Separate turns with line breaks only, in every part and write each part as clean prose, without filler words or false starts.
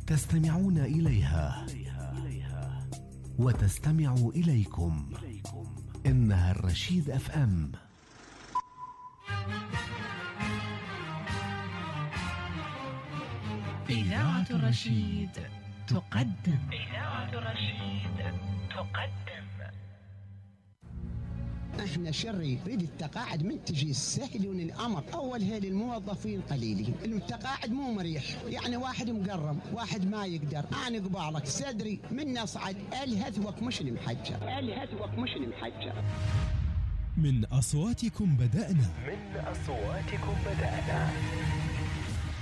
تستمعون إليها وتستمع إليكم. إنها الرشيد اف ام.
إذاعة الرشيد تقدم.
احنا شري يريد التقاعد من تجي سهل الامر. اول هيل الموظفين قليلين، التقاعد مو مريح، يعني واحد مقرم، واحد ما يقدر. انا قبالك صدري من اصعد الهثوك مش المحجر.
من اصواتكم بدأنا.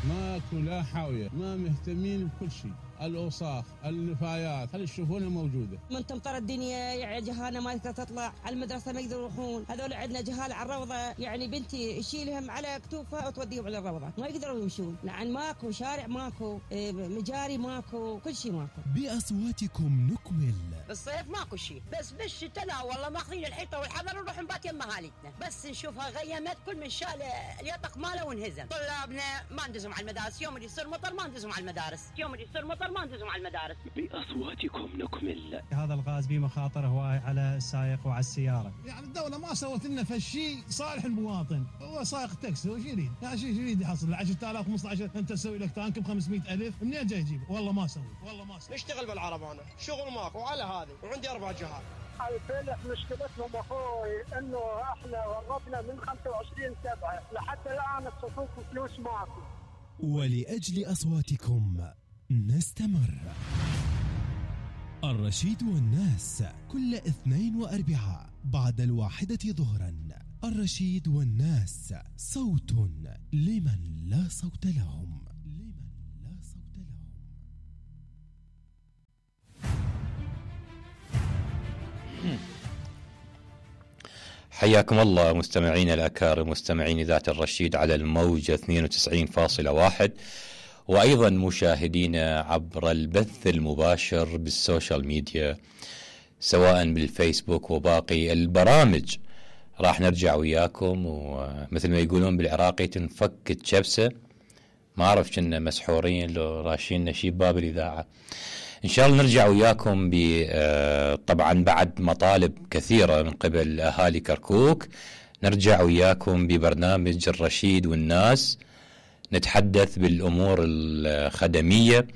ماكو لا حاوية، ما مهتمين بكل شيء، الأوساخ، النفايات، خلي يشوفونها موجودة.
من تمطر الدنيا يعني جهالنا ما تقدر تطلع على المدرسة، ما يقدروا يروحون. هذول عندنا جهال على الروضة، يعني بنتي يشيلهم على كتوفها وتوديهم على الروضة، ما يقدروا يمشون، لأن ماكو شارع، ماكو مجاري، ماكو كل شيء ماكو.
بأصواتكم نكمل.
بالصيف ماكو شيء، بس بالشتاء لا والله ماخذين الحيطة والحذر ونروح نبات يم مهالتنا، بس نشوفها غيمت كل من شال اليطق ماله وانهزم. طلابنا ما ندزهم على المدارس، يوم اللي يصير مطر ما ندزهم على المدارس،
بأصواتكم نكمل.
هذا الغاز به مخاطر هواي على السائق وعلى السيارة.
يعني الدولة ما سوت لنا فشي صالح المواطن، هو سائق تاكسي وش يريد؟ يعني شو يريد يحصل 10,000 15 انت تسوي لك تانك ب500,000 منين جاي يجيب؟ والله ما سوي.
اشتغل بالعرب انا شغل ماكو وعلى هذه وعندي 4 جهات.
الفلح مشكلتهم اخوي انه احنا ورطنا من 25/7 لحتى الان الصفوف فلوس ماكو.
ولأجل أصواتكم نستمر. الرشيد والناس كل اثنين وأربعاء بعد 1 ظهرا. الرشيد والناس، صوت لمن لا صوت لهم.
حياكم الله مستمعين الأكارم، مستمعين إذاعة الرشيد على الموجة 92.1، وأيضا مشاهدينا عبر البث المباشر بالسوشيال ميديا سواء بالفيسبوك وباقي البرامج. راح نرجع وياكم، ومثل ما يقولون بالعراقي تنفك شبسة، ما أعرف كنا مسحورين لو راشين نشيب باب الإذاعة. إن شاء الله نرجع وياكم طبعا بعد مطالب كثيرة من قبل أهالي كركوك، نرجع وياكم ببرنامج الرشيد والناس، نتحدث بالأمور الخدمية،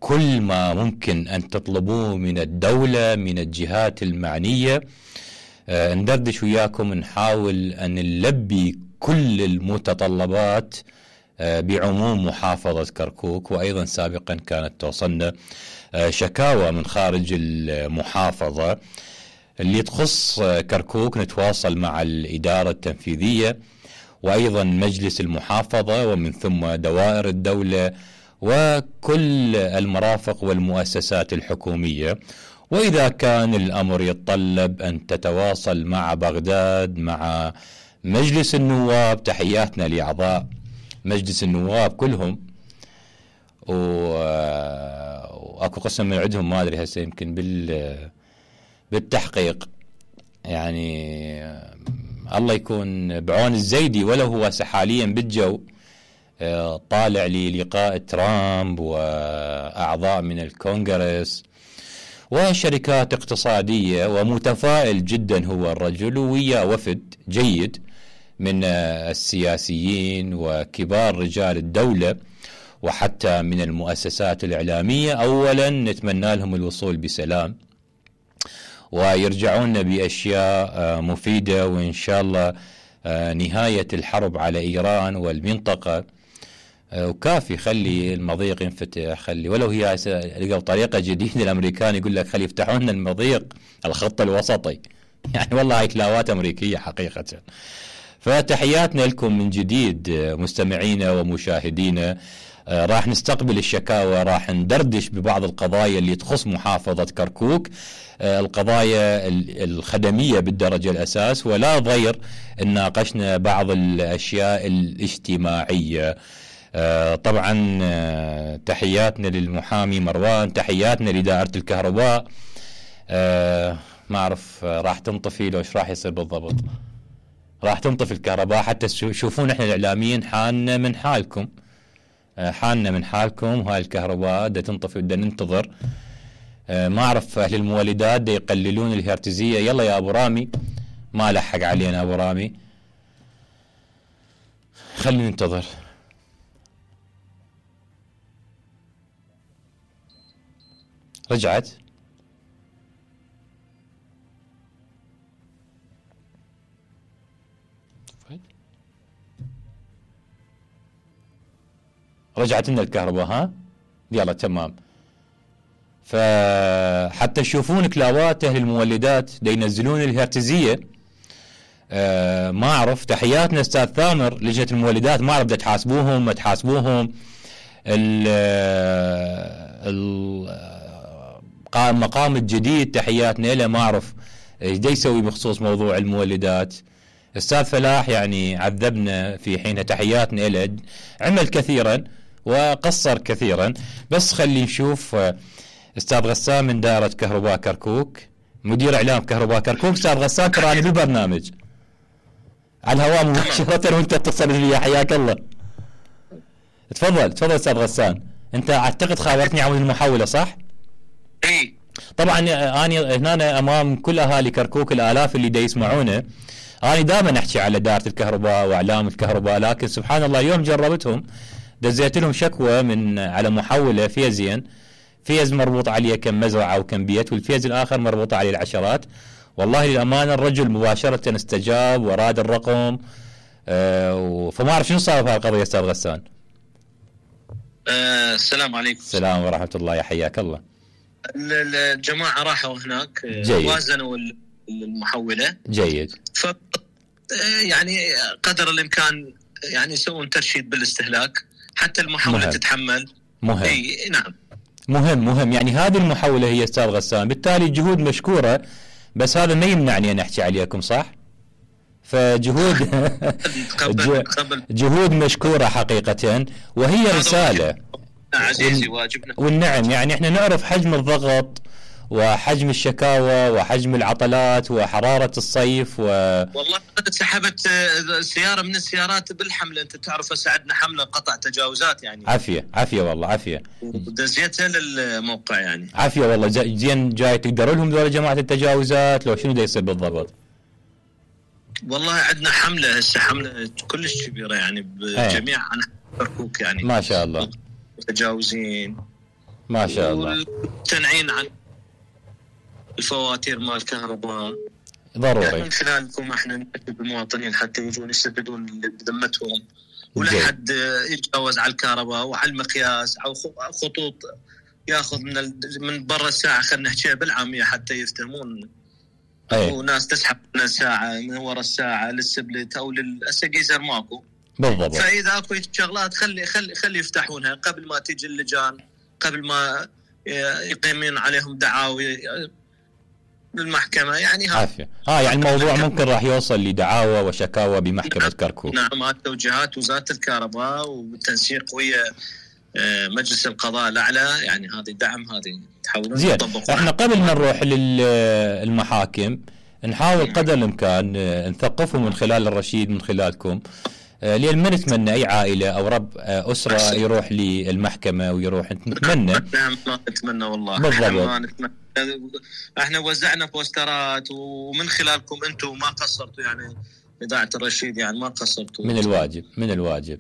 كل ما ممكن أن تطلبوه من الدولة من الجهات المعنية ندردش وياكم، نحاول أن نلبي كل المتطلبات بعموم محافظة كركوك. وأيضا سابقا كانت توصلنا شكاوى من خارج المحافظة اللي تخص كركوك، نتواصل مع الإدارة التنفيذية وأيضا مجلس المحافظة ومن ثم دوائر الدولة وكل المرافق والمؤسسات الحكومية. وإذا كان الأمر يتطلب أن تتواصل مع بغداد مع مجلس النواب، تحياتنا لأعضاء مجلس النواب كلهم، وأكو قسم من عندهم ما أدري هسه يمكن بالتحقيق، يعني الله يكون بعون الزيدي، ولا هو حاليا بالجو طالع للقاء ترامب وأعضاء من الكونغرس وشركات اقتصادية، ومتفائل جدا هو الرجل، ويا وفد جيد من السياسيين وكبار رجال الدولة وحتى من المؤسسات الإعلامية. أولا نتمنى لهم الوصول بسلام ويرجعون بأشياء مفيدة، وإن شاء الله نهاية الحرب على إيران والمنطقة، وكافي خلي المضيق ينفتح، خلي ولو هي لقوا طريقة جديدة، الأمريكان يقول لك خلي يفتحون المضيق الخط الوسطي، يعني والله هاي تلاوات أمريكية حقيقة. فتحياتنا لكم من جديد مستمعينا ومشاهدينا. راح نستقبل الشكاوى، راح ندردش ببعض القضايا اللي تخص محافظة كركوك، القضايا الخدمية بالدرجة الأساس، ولا ضير ناقشنا بعض الأشياء الاجتماعية. طبعا تحياتنا للمحامي مروان، تحياتنا لدائرة الكهرباء. ما أعرف راح تنطفي لو إيش راح يصير بالضبط، راح تنطفي الكهرباء حتى تشوفون احنا الإعلاميين حالنا من حالكم. حالنا من حالكم، وهاي الكهرباء دا تنطفي بدنا ننتظر. ما اعرف اهل المولدات دا يقللون الهرتزيه. يلا يا ابو رامي، ما لحق علينا ابو رامي، خلينا ننتظر. رجعت لنا الكهرباء. ها يلا تمام. فحتى تشوفون كلاوات اهل المولدات دا ينزلون الهرتزيه. ما اعرف. تحياتنا استاذ ثامر لجنه المولدات، ما اعرف دا تحاسبوهم ما تحاسبوهم. المقام الجديد تحياتنا له، ما اعرف ايش دا يسوي بخصوص موضوع المولدات. استاذ فلاح يعني عذبنا في حين، تحياتنا له، عمل كثيرا وقصر كثيرا. بس خلي نشوف استاذ غسان من دائرة كهرباء كركوك، مدير اعلام كهرباء كركوك. استاذ غسان تراني بالبرنامج على الهواء مباشرة وانت اتصل بي، حياك الله. تفضل استاذ غسان. انت اعتقد خابرتني عن المحولة صح؟
اي
طبعا انا هنا امام كل اهالي كركوك الالاف اللي دا يسمعونه. انا دائما احكي على دائرة الكهرباء واعلام الكهرباء، لكن سبحان الله اليوم جربتهم، دزيت لهم شكوى من على محولة فيزين، فيز مربوط عليه كم مزرعة وكم بيت، والفيز الآخر مربوط عليه العشرات. والله للأمانة الرجل مباشرة استجاب وراد الرقم. فما أعرف شنو صار في هالقضية أستاذ غسان.
السلام عليكم.
السلام ورحمة الله، يا حياك الله.
الجماعة راحوا هناك وازنوا المحولة.
جيد.
يعني قدر الإمكان يعني يسوون ترشيد بالاستهلاك حتى المحولة مهم. تتحمل.
مهم.
اي نعم.
مهم يعني هذه المحولة هي استاذ غسان، بالتالي جهود مشكورة، بس هذا ما يمنعني ان احكي عليكم صح؟ فجهود جهود مشكورة حقيقة، وهي رسالة
عزيزي واجبنا.
والنعم يعني احنا نعرف حجم الضغط وحجم الشكاوى وحجم العطلات وحرارة الصيف
والله قد سحبت سيارة من السيارات بالحملة. انت تعرف ساعدنا حملة قطع تجاوزات يعني.
عافية والله عافية.
ودزيتها للموقع يعني.
عافية والله. زين جاي تقدروا لهم ذول جماعة التجاوزات لو شنو دا يصير بالضبط؟
والله عندنا حملة هسه، حملة كلش كبيرة يعني بجميع أنحاء كركوك يعني.
ما شاء الله.
متجاوزين
ما شاء الله.
والتنعين عن الفواتير مال الكهرباء
ضروري.
يعني من خلالكم احنا نأكد المواطنين حتى يجون يستفيدون بذمتهم، ولا حد يتجاوز على الكهرباء وعلى المقياس او خطوط ياخذ من برا الساعه، خلينا نحكيها بالعاميه حتى يفتهمون. وناس تسحب من الساعه من ورا الساعه للسبلت او للسقيزر ماكو
بالضبط.
فاذا اكو شغلات خلي يفتحونها قبل ما تيجي اللجان، قبل ما يقيمون عليهم دعاوي بالمحكمة يعني.
عافية. يعني الموضوع ممكن راح يوصل لدعاوى وشكاوى بمحكمة كركوك.
نعم. هذه توجيهات وزارة الكهرباء وبالتنسيق ويا مجلس القضاء الأعلى يعني. هذه دعم هذه تحاولون
زين. احنا قبل ما نروح للمحاكم نحاول قدر الإمكان نثقفهم من خلال الرشيد، من خلالكم، لأن ما نتمنى أي عائلة أو رب أسرة يروح للمحكمة ويروح. نتمنى
ما نتمنى والله.
بالضبط.
احنا وزعنا بوسترات ومن خلالكم انتم ما قصرتوا يعني، إذاعة الرشيد يعني ما قصرتوا.
من الواجب